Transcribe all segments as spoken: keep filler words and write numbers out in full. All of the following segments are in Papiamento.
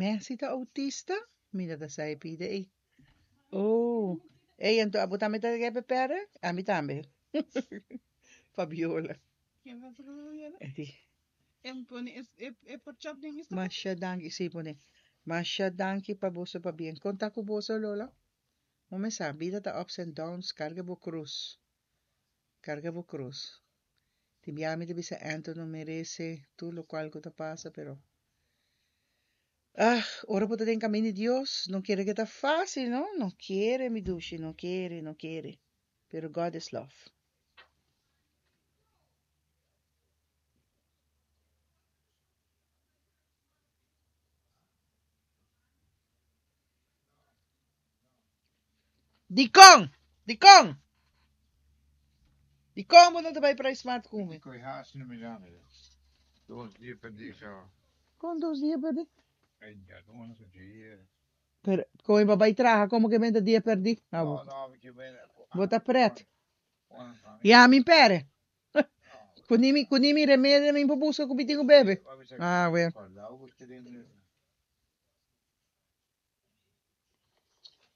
Messi ta autista? Mi no ta sa e pida ei. Oh, ei, anto abo tambe ta repe pere? Ami tambe. Fabiola. E di. Masha danki, sí, pone. Masha danki pa boso pabien. Kon ta ku boso, Lola? Bo mes sa, bida ta ups and downs, karga bo krus. Karga bo krus. Tin bia mi ta bisa Anto no merese tur lokual ku ta pasa, pero ah, ora bo ta den kamin di Dios, no kere ke ta fásil, no? No kere, mi dushi, no kere, no kere. Pero God is love. Dikon? Dikon? Dikon bo no ta bai PriceSmart ku mi? Koi haast no mirando. Dos dia perdí so. Kon dos dia perdí? Ay, ya no sé dia. Pero kon bo bai traha komo ke menta dia perdí? Ah, No, bo, no, mi ke ben. bo ta pret. Ya mi pere. Ku ni mi, ku ni mi remedio mi por buska ku mi tin ku bebe. Ah, well.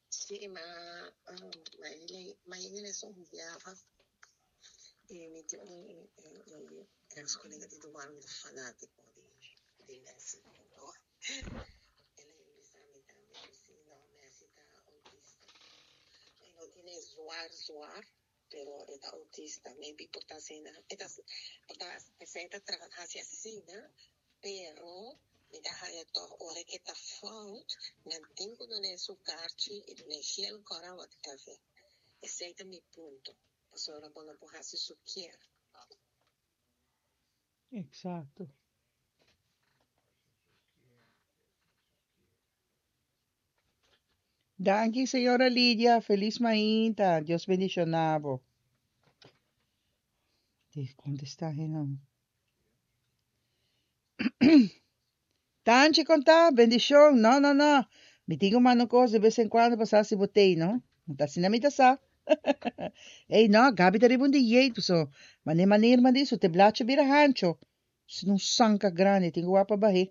Sí, ma, um, ma ele, ma ele es un biaha e mi tin un, un, un ex colega di douane mi ta fanátiko di, di Messi. Anto, el a bisa mi tambe ku si no, Messi ta autista. E no tiene zwaar zwaar, pero e ta autista. Maybe por ta asina, e ta, por ta, esei ta traha hasi asina, pero mi ta haya tòg ora ku ta fout, nan tin ku dun'é su karchi i dun'é gel kòrá whatever. Esei ta mi punto. Pasobra bo no por hasi su kier. Exacto. Danki, señora Lidia. Feliz mainta. Dios bendishoná bo. Di kontestá hennan. Tanchi konta, bendishon. No, no, no. Mi tin ku manda un kos de bes en kuando pa sa si bo t'ei, no? Ta asina mi ta sa. Ei, no, Gabi ta riba un dieet, so. Mane manera man di su te blachi bira hancho. Si un sanka grandi, tin ku wak pa bah'é.